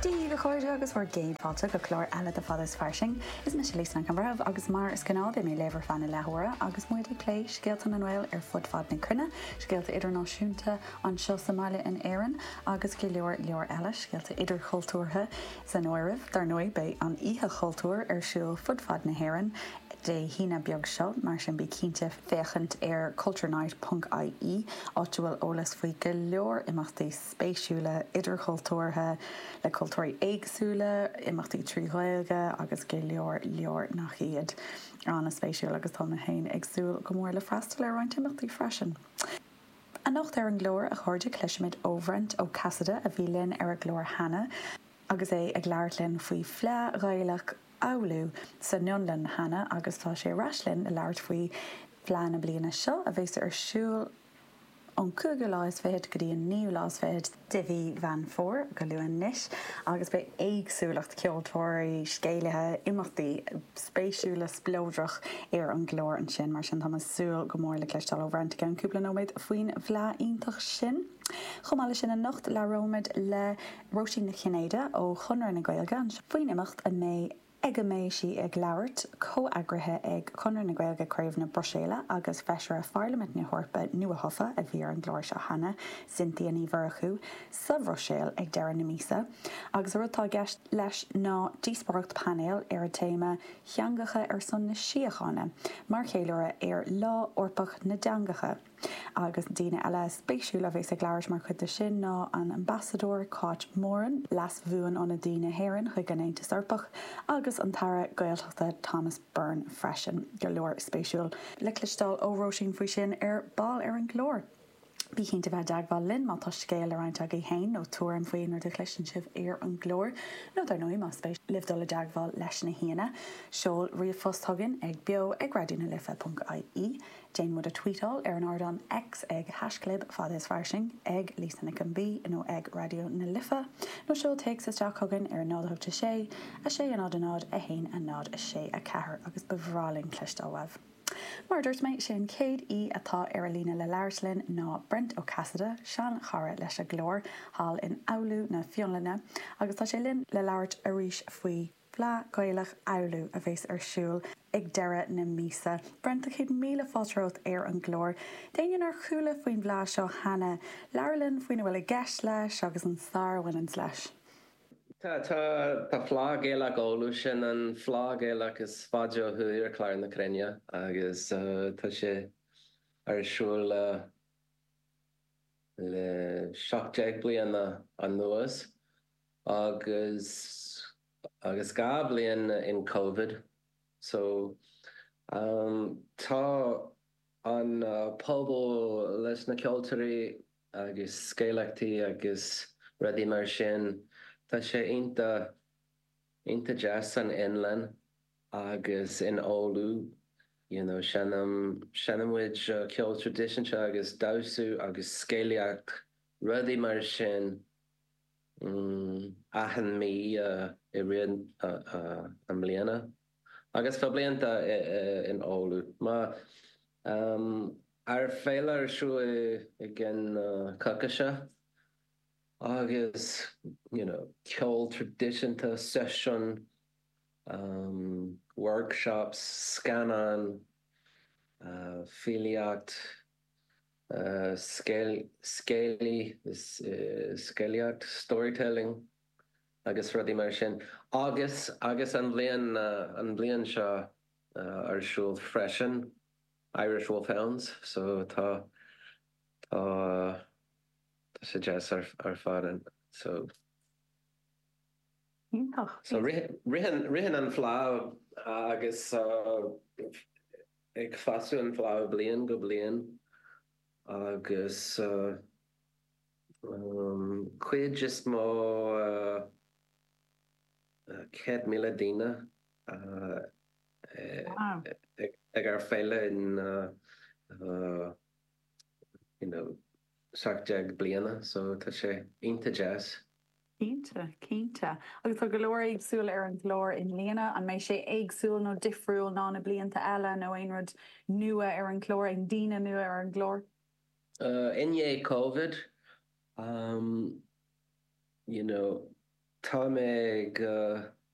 Dia dhaoibh a chairde agus bhur gcéad fáilte go clár eile de Fada is Fairsing. Is mise Lisa Nic an Bhreithimh agus mar is gnáth beidh mé libh ar feadh na leathuaire agus muid ag plé scéalta na nGael ar fud fad na cruinne, scéalta idirnáisiúnta anseo sa mbaile in Éirinn agus go leor leor eile, scéalta idirchultúrtha san áireamh. Dar ndóigh beidh an Oíche Chultúir ar siúl fud fad na hÉireann Dé hAoine beag seo, mar sin bí cinnte féachaint ar culturenight ponc ie áit a bhfuil eolas faoi go leor imeachtaí spéisiúla idirchultúrtha le cultúirí éagsúla, imeachtaí trí Ghaeilge agus go leor leor nach iad. An-spéisiúil agus tá mé féin ag súil go mór le freastal ar roinnt imeachtaí freisin. Anocht ar an gclár, a chairde, cloisfimid ó Bhrent Ó Casaide a bhí linn ar an gclár cheana agus é ag labhairt linn faoi Fleadh Ghaelach Oulu san Fhionlainn cheana agus tá sé ar ais linn le labhairt faoi Fleadh na bliana seo a bheas ar siúl ón cúigiú lá is fichead go dtí an naoú lá is fichead de mhí Mheán Fómhair, go luath anois, agus beidh éagsúlacht ceoltóirí, scéalaithe, imeachtaí spéisiúla spleodrach ar an gclár ansin. Mar sin táim ag súil go mór le cloisteáil ó Bhrent i gceann cúpla nóiméad faoin bhFleadh iontach sin. Chomh maith leis sin anocht labhróimid le Róisín Nic Chinnéide ó Chonradh na Gaeilge faoin imeacht a mbeidh ag a mbeidh sí ag labhairt, comheagraithe ag Conradh na Gaeilge Craobh na Bruiséile agus Feisire Pharlaimint na hEorpa nuathofa a bhí ar an gclár seo cheana, Cynthia Ní Mhurchú, sa Bhruiséil ag deireadh na míosa. Agus an rud atá i gceist leis ná díospóireacht painéil ar an téama 'Teangacha ar son na Síochána' mar cheiliúradh ar Lá Eorpach na dTeangacha. Agus daoine eile spéisiúla a bheas ag labhairt mar chuid de sin ná an Ambasadóir Cáit Moran, Leas-Bhuan-Ionadaí na hÉireann chuig an Aontas Eorpach, agus an tAire Gaeltachta Thomas Byrne freisin. Go leor spéisiúil le cloisteáil ó Róisín faoi sin ar ball ar an gclár. Bí cinnte bheith i dteagmháil linn má tá scéal le roinnt agaibh féin nó tuairim faoi aon rud a chloiseann sibh ar an gclár, nó dar ndóigh más spéis libh dul i dteagmháil leis na haíonna, seol ríomhphost chugainn ag beo ag raidió na life ponc ie. Déan muid a tweetáil ar an ardán X ag haischlib fada is fairsing, ag Lisa Nic an B nó ag Raidió na Life, nó seol téacs isteach chugainn ar 0 8 6 6 0 0 1 0 6 4 agus ba bhreá linn cloisteáil uaibh. Mar a dúirt mé, sé an chéad aoi atá ar an líne le labhairt linn ná Brent Ó Casaide, sean-chara leis an gclár, thall in Oulu na Fionlainne, agus tá sé linn le labhairt arís faoi Fleadh Ghaelach Oulu a bheas ar siúl ag deireadh na míosa. Brent, tá 100,000 fáilte romhat ar an gclár. D'éinne nár chuala faoin bhFleadh seo cheana, labhair linn faoina bhfuil i gceist leis agus an stair a bhaineanns leis. Tá, tá, tá Fleadh Ghaelach Oulu, sin an Fleadh Ghaelach is faide ó thuaidh ar chlár na cruinne agus tá sé ar siúl le le 17 bliana anuas agus agus 2 bliain in Covid so tá an pobal leis na ceoltóirí agus scéalaíochtaí agus rudaí mar sin, tá sé iontach iontach deas san Fhionlainn agus in Oulu you know seinm seinneann muid ceol traidisiúnta agus damhsa agus scéalaíocht rudaí mar sin. achan mí i rith na mbliana agus fá blianta in Oulu. Má ár féile ar siúl i gceann coicíse agus you know ceol traidisiúnta, seisiún, workshops, scannán, filíocht, Scéalaíocht, storytelling agus rudaí mar sin. Agus agus an bhliain an bhliain seo ar siúl freisin Irish Wolfhounds so tá tá tá sé deas ar ar fad an so. Iontach. So ritheann ritheann an fleadh agus ag fású an fleadh bliain go bliain agus cuid is mó 100,000 daoine ag ár féile in you know 17 bliana so tá sé iontach deas. Cinnte, cinnte. Agus tá go leor éagsúil ar an gclár i mbliana. An mbeidh sé éagsúil nó difriúil ná na blianta eile nó aon rud nua ar an gclár, aon daoine nua ar an gclár? I ndiaidh Covid, you know, Tá mé go.